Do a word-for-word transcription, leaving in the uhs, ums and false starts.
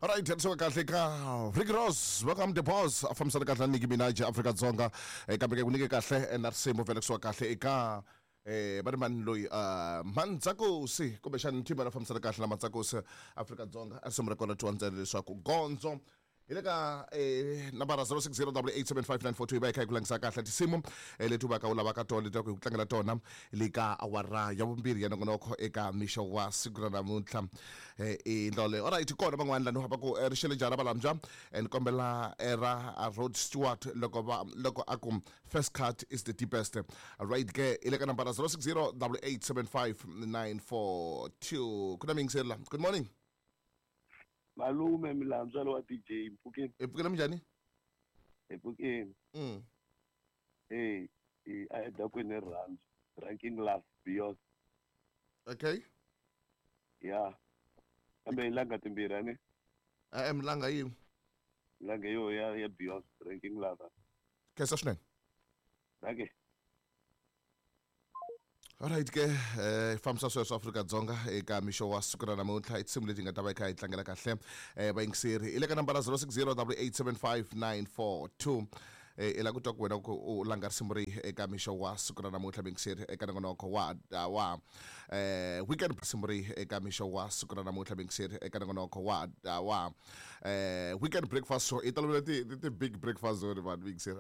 Alright, so kahle ka Rick Ross, welcome the boss, a fambisana kahle na Nicki Minaj Afrika-Dzonga. Eh, kambe ke ku nyike kahle eh, na risimu vhele kusuka kahle eka eh va ri mani loyi uh, Mandzakosi kumbexani team ra fambisana kahle na Mandzakosi Afrika-Dzonga a risimu ra kona twiwa ntsena leswaku gondzo hi le ka eh, nambara zero six zero double eight seven five nine four two hi va hi kha hi ku langisa kahle tinsimu eh, leti u va ka u lavaka tona leti ku hi ku tlangela tona le ka awara ya vumbirhi ya nongonoko eka mixo wa siku ra namuntlha eh, i ndlela leyo. Alright, kona van'wana lani va ku eh, rixele njhani valambya eh, ni kombela eh, ra Rod Stewart loko va loko a ku first cut is the deepest. Right ke i le ka nambara zero six zero double eight seven five nine four two. Ku na miyingiseri la. Good morning. Malume Milandzelo wa D J Mpfukeni. Hi pfukile minjhani? Hi pfukile. Mm. Eh, eh, a hi dakwini hi rirhandzu. Ranking Love, Beyonce. Okay. Yeah. Kambe hi langa timbirhi ani? Eh, milanga yin'we. Langa yo ya ya Beyonce, Ranking Love. Khensa swinene. Okay. Alright ke eh fambisa sweswo Afrika-Dzonga eka mixo wa siku ra namuntlha i tinsimu leti nga ta va yi kha yi tlangela kahle eh vayingiseri i le ka nambara zero six zero double eight seven five nine four two eh i la ku twa ku wena ku u langa risimu rihi eka mixo wa siku ra namuntlha vayingiseri eka nongonoko wa wa eh weekend risimu rihi eka mixo wa siku ra namuntlha vayingiseri eka nongonoko wa wa eh weekend breakfast show i tolovele ti ti big breakfast zone vanhu vayingiseri.